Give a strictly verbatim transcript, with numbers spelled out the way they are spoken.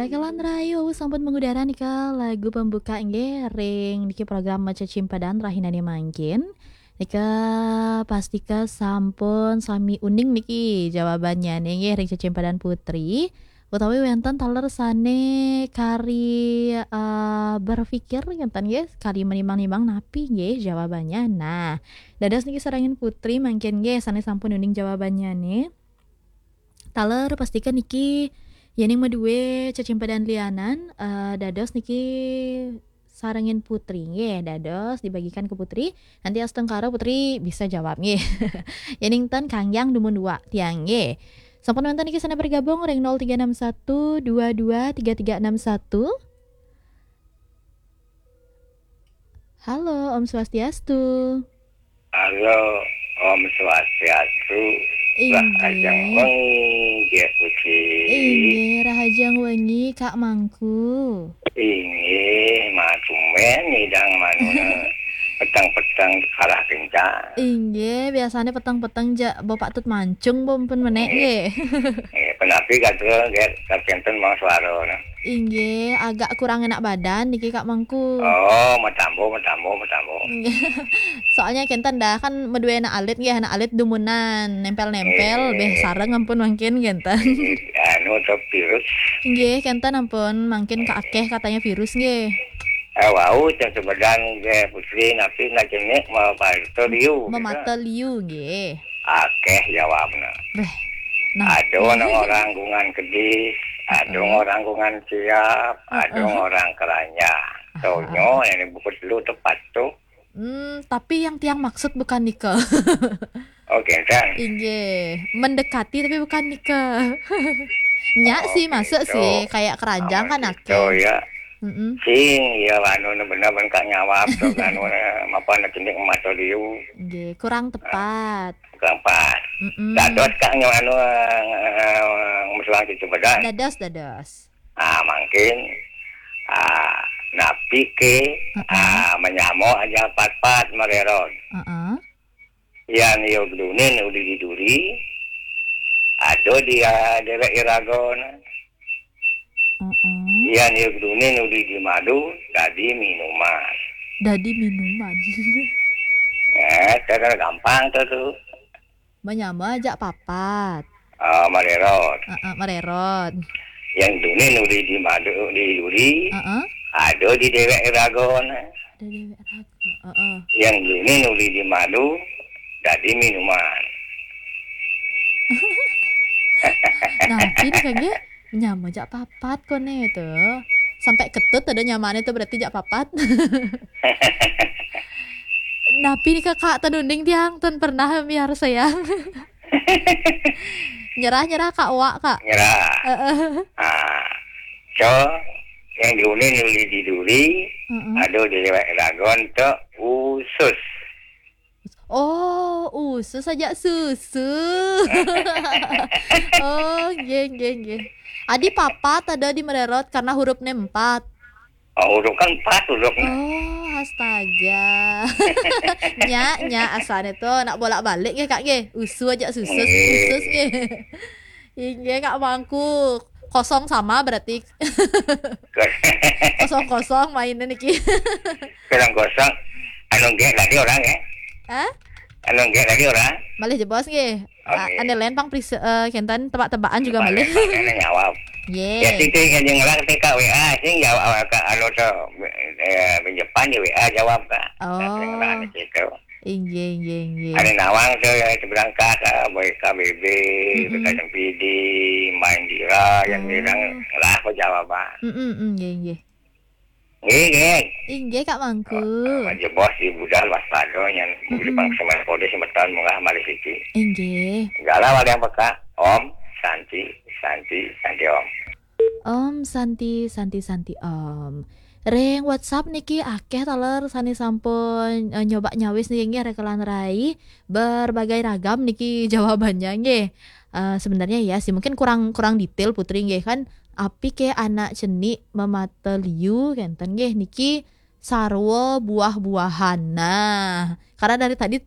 Baiklah, Rahayu, sampun mengudara nika lagu pembuka nggih ring niki program Maca Cimpadan rahinane mangkin. Nika pastika sampun sami uning niki jawabannya nggih ring Cecimpadan Putri. Utawi wenten taler sane kari, eh, berpikir ngenten nggih, kari menimbang-nimbang napi nggih jawabannya. Nah, dados niki sarengin Putri mangkin nggih sane sampun uning jawabannya nih. Taler pastika niki yening madue cecimpadan lianan, eh, dados niki sarengin Putri nggih, dados dibagikan ke Putri. Nanti astungkara Putri bisa jawab nggih. Yening ten kangyang dumun dua tiang nggih. Sampun wenten niki sane bergabung ring nol tiga enam satu dua dua tiga tiga enam satu. Halo, Om Swastiastu. Halo, Om Swastiastu. Inggih. Rahajeng wengi, Diah Putri. Inggih, rahajeng wengi, Kak Mangku. Inggih, matumben ngidang manuna peteng-peteng kalah kencang. Inggih, biasane peteng-peteng ja Bapak Tut Mancung pun menek nggih. Nggih, penapi katur nggih, kakinten mang suarana. Inggih, agak kurang enak badan niki, Kak Mangku. Oh, matambo, matambo, matambo. Soalnya kenten dah kan madue anak alit nggih, anak alit dumunan nempel-nempel, nggih, beh sareng ampun mangkin kenten. Nggih, anu to virus. Nggih, kenten ampun mangkin kaakeh katanya virus nggih. Eh, wau cang sebedan nggih Putri napi nak cenik mau parto liu. Memata liu nggih. Akeh jawabna. Beh. Nah, ada nang orang gungan kedis, ada orang gungan siap, ada orang keranjang. Tonyo yang buku telu tepat tu. Hmm, tapi yang tiang maksud bukan nika. Oh, kenten. Inggih, mendekati tapi bukan nika. Nyak sih, masuk gitu. Sih, kayak keranjang kan gitu, akeh. Ya. Mm-mm. Sing, ya, anu, bener-bener kak nyawab tu, anu, apa nak cenik mata liu. Nggih, kurang tepat. Kurang pas. Mm-mm. Dados kak nyo anu, eh, musuhan kita bedan. Dados, dados. Ah, mungkin, ah, napi ke, ah, menyamo aja pat-pat mererod. Heeh. Yan yo gedunin uli di duri, ado di, ah, dewek iragon. Heeh. Yan yo gedunin uli di madu, dadi minuman. Dadi minuman. Eh, kadang gampang tu tu. Menyama ajak papat. Ah, mererot. Heeh, mererot. Yang dunin uli di madu, di duri. Heeh. Ada di dewek ragon. Ada dewek ragon. Heeh. Yang dunin uli di madu, dadi minuman. Nah, ini kan dia menyama ajak papat kone tu. Sampai ketut ada nyamane tu berarti ajak papat. Napi ni kakak tenunding tiang, ten pernah miar sayang. Nyerah-nyerah kak wak kak. Nyerah. Heeh. Ah. So, yang diuni nuli di duri, heeh, aduh di lewat ragon tu usus. Oh, usus aja susu. Oh, nggih, nggih, nggih. Adi papat ada di mererot karena hurufnya empat. Oh, huruf kan empat hurufnya. Oh, astaga. Nya, nya, asane tu nak bolak-balik ya kak, nggih. Usu aja susus, nggih, usus, nggih. Inggih, Kak Mangku. Kosong sama berarti. Kosong-kosong mainnya niki. Kosong-kosong. Anu nggih tadi orang ya? Hah? Anu nggih tadi orang? Malih jebos nggih. Oke. Ah, ane lain pang pris-, eh, kenten tebak-tebakan juga malih. Ini nyawab. Ye. Ya, sing yang ngelar ke K W A, sing jawab ke anu tu, eh, pinjepan di W A jawab ke. Oh. Sing ngelar di situ. Inggih, inggih, inggih. Ari nawang tu, ya, itu berangkat, ah, boy K B B, hmm, B K M P D, main dira, yang, hmm, bilang lah apa jawaban. Mm-mm, inggih, inggih. Nggih, nggih. Inggih, Kak Mangku. Aja bos di budal waspada yang, mm-mm, beli pangsemen kode semeton murah mari siki. Inggih. Galau ada yang peka. Om, Santi, Santi, Santi Om. Om Santi, Santi, Santi Om. Ring WhatsApp niki akeh taler sane sampun, eh, nyoba nyawis niki nggih rekelan rai. Berbagai ragam niki jawabannya nggih. Eh, sebenarnya ya sih mungkin kurang, kurang detail Putri nggih kan. Api ke anak cenik memata liu kenten nggih niki sarwa buah-buahan. Nah, karena dari tadi